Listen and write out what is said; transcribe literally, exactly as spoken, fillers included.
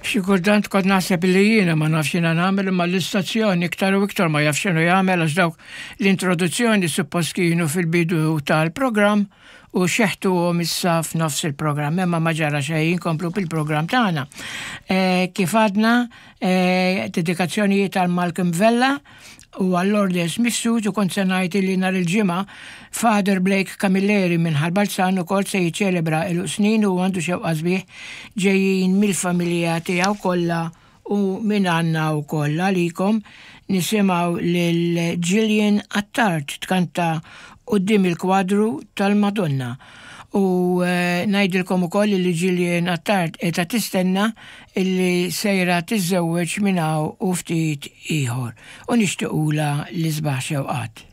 Xi kultant kont naħseb li jiena ma nafx x'jiena nagħmel, imma l-istazzjon iktar u iktar ma jafx x'inhu jagħmel, għax dawk l-introduzzjoni suppost kienu fil-bidu tal-programm u xeħtuhom issa f'nofs il-programm, imma ma ġara xejn, inkomplu bil-programm tagħna. Eh, kif għadna, eh, dedikazzjonijiet għal Malcolm Vella u għall-Ordes Mifsud, u kont se ngħid li nhar il-Ġimgħa Father Blake Camilleri minn Ħal Balzan ukoll se jiċċelebra il snin u għandu xewqa sbieħ ġejjin mill-familja tiegħu kollha u minn għandna wkoll għalikom. Nisimgħu lil Gillian Attard tkanta "Quddiem il-Kwadru tal-Madonna". U eh, ngħidilkom ukoll li Gillian Attard qiegħda tistenna illi sejra tiżżewweġ minn hawn u ftit ieħor. U nixtiequlha l-isbaħ xewqat.